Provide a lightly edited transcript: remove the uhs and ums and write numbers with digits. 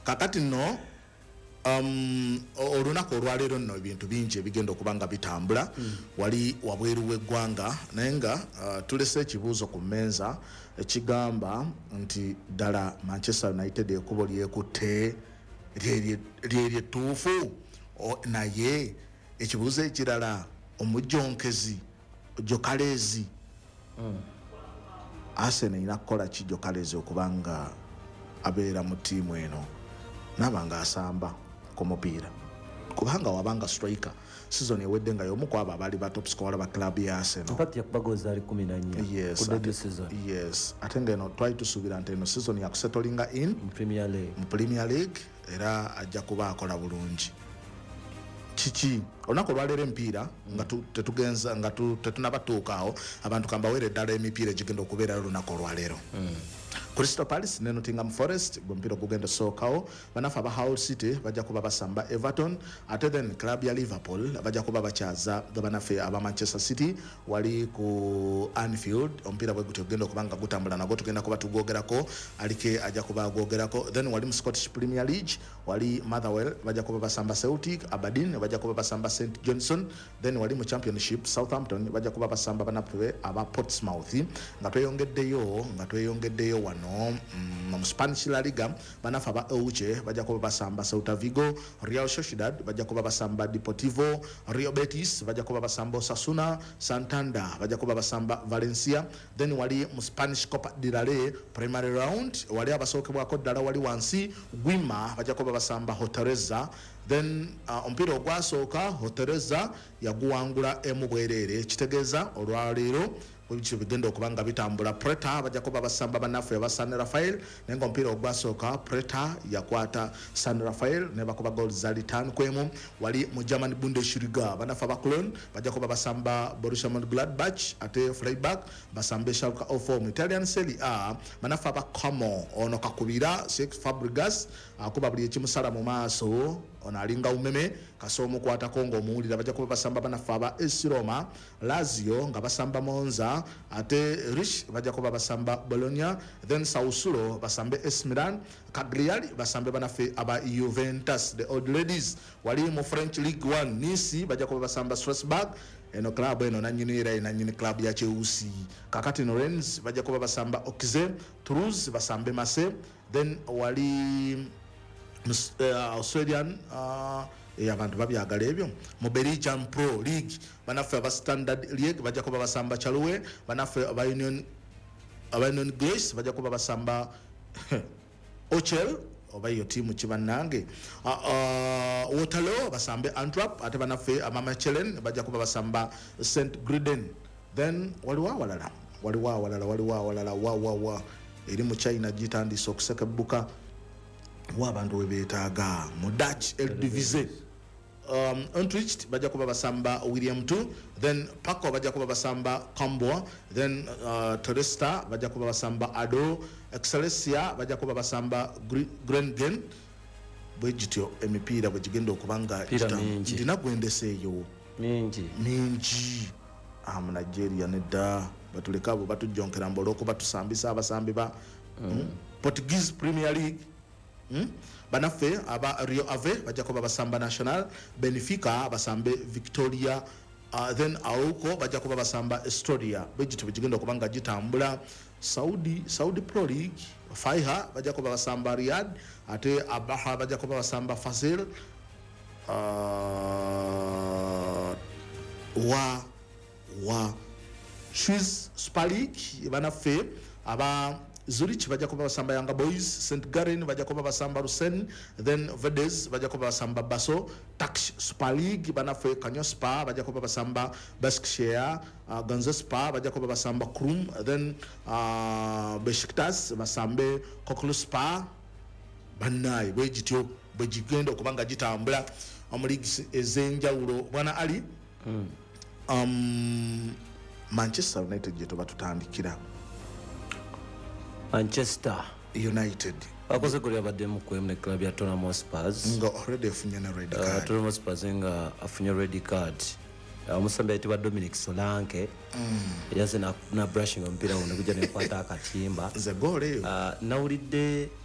Kakati nno olunaku olwaleero nno ebintu bingi ebigenda okuba nga bitambula wali wabweru w'eggwanga, naye nga tulese ekibuuzo ku mmeeza ekigamba nti ddala Manchester United ekkubo lyekutte lyeryo ettuufu? Naye ekibuuzo ekirala, omujjonkezi Gyökeres, Arsenal erina kukola ki Gyökeres okuba nga abeera mu ttiimu eno naaba nga asamba ku mupiira? Kubanga wabanga striker season ewedde nga y'omu ku abo abaali ba top scorer ba club ya Arsenal. In fact, yakuba goals zaali 14 ku debut season. Yes, ate nga eno twali tusuubira nti eno season yakusettlinga in mu Premier League. Mu Premier League, era ajja kuba akola bulungi. Kiki olunaku olwaleero emipiira nga tetugenza nga tetunabatuukaawo, abantu kambaweere ddala emipiira egigenda okubeerayo olunaku olwaleero. Crystal Palace ne Nottingham Forest gwe mupiira ogugenda osookawo. Banafe aba Hull City bajja kuba basamba Everton, ate then club ya Liverpool bajja kuba bakyaza banafe aba Manchester City wali ku Anfield. Omupiira bwe gutyo ogenda okuba nga gutambula, nagwo tugenda kuba tugwogerako, alike ajja kuba agwogerako. Then wali mu Scottish Premier League, wali Motherwell bajja kuba basamba Celtic, Aberdeen bajja kuba basamba St Johnstone. Then wali mu Championship, Southampton bajja kuba basamba banaffe aba Portsmouth. Nga tweyongeddeyo wano mu Spanish La Liga, banafe aba Elche bajja kuba basamba Celta Vigo, Real Sociedad bajja kuba basamba Deportivo, Real Betis bajja kuba basamba Osasuna, Santander bajja kuba basamba Valencia. Then wali mu Spanish Copa del Rey primary round, wali abasookebwako ddala wali wansi, Girona bajja kuba basamba Hortaleza. Then omupiira ogwasooka Hortaleza yaguwangula emu bwereere, kitegeeza olwaleero bwebityo bigenda okuba nga bitambula. Preta bajja kuba basamba bannaffe aba San Rafael, naye nga omupiira ogwasooka Preta yakwata San Rafael ne bakuba goal zali 5-1. Wali mu German Bundesliga, bannaffe aba Cologne bajja kuba basamba Borussia Mönchengladbach, ate Freiburg basambe Schalke 04. Mu Italian Serie A, bannaffe aba Como, ono kakubira Cesc Fabregas akuba buli ekimusala mu maaso, ono alinga umeme kasa omukwatako ng'omuwulira, bajja kuba basamba bannaffe aba AS Roma. Lazio nga basamba Monza, ate Lecce bajja kuba basamba Bologna, then Sassuolo basambe AC Milan, Cagliari basambe banaffe aba Juventus, the old ladies. Wali mu French Ligue 1, Nice bajja kuba basamba Strasbourg, eno club eno nanyini era nanyini club ya Chelsea. Kakati no Rennes bajja kuba basamba Auxerre, Toulouse basambe Marseille. Then wali Australian abantu babyagala ebyo. Mu Belgian Pro League, banaffe aba Standard League bajja kuba basamba Charleroi, banaffe aba Union Grace bajja kuba basamba Ochel, oba iyo tiimu kibannange. Waterloo basambe Antwerp, ate banaffe aba Mechelen bajja kuba basamba St Griden. Then waliwo awalala, waliwo awalala, waliwo awalala wa wa wa eri mu China gitandise okusekebbuka wa abantu we beetaaga. Mu Dutch Eredivisie, Utrecht bajja kuba basamba Willem 2, then Paco bajja kuba basamba Cambuur, then Telstar bajja kuba basamba ADO, Excelsior bajja kuba basamba Groningen. Bwe gityo emipiira bwe gigenda okuba nga Mipiira mingi. Ndina gwendeseeyo. Mingi. Mingi. Mu Nigeria nedda, batuleke abo batujjonkera mbu olwokuba tusambisa abasambi ba Portuguese Premier League. Banaffe aba Rio Ave bajja kuba basamba National, Benfica basambe Victoria, then Arouca bajja kuba basamba Estoril. Bwegityo bwegigenda okuba nga gitambula. Saudi Pro League, Faiha bajja kuba basamba Riyadh, ate Abaha bajja kuba basamba Fasil. Wa Swiss Super League, banaffe aba Zurich bajja kuba basamba Young Boys, St Gallen bajja kuba basamba Lucerne, then Vaduz bajja kuba basamba Basel. Turkish Super League, banaffe Konyaspor bajja kuba basamba Basaksehir, Gaziantepspor bajja kuba basamba Krum, then Besiktas basambe Kocaelispor. Bannaye, bwe gityo bwe gigenda okuba nga gitambula mu leagues ez'enjawulo. Bwana Ali, Manchester United gye tuba tutandikira. Manchester United bakoze goli abaddemu kwemu ne club ya Tottenham Hotspurs. Nga already efunye ne red card. Tottenham Hotspurs nga afunye red card. Omusambi ayitibwa Dominic Solanke yaze na brushing omupiira guno gujja nekwata akatimba. Nze goolo eyo Nawulidde.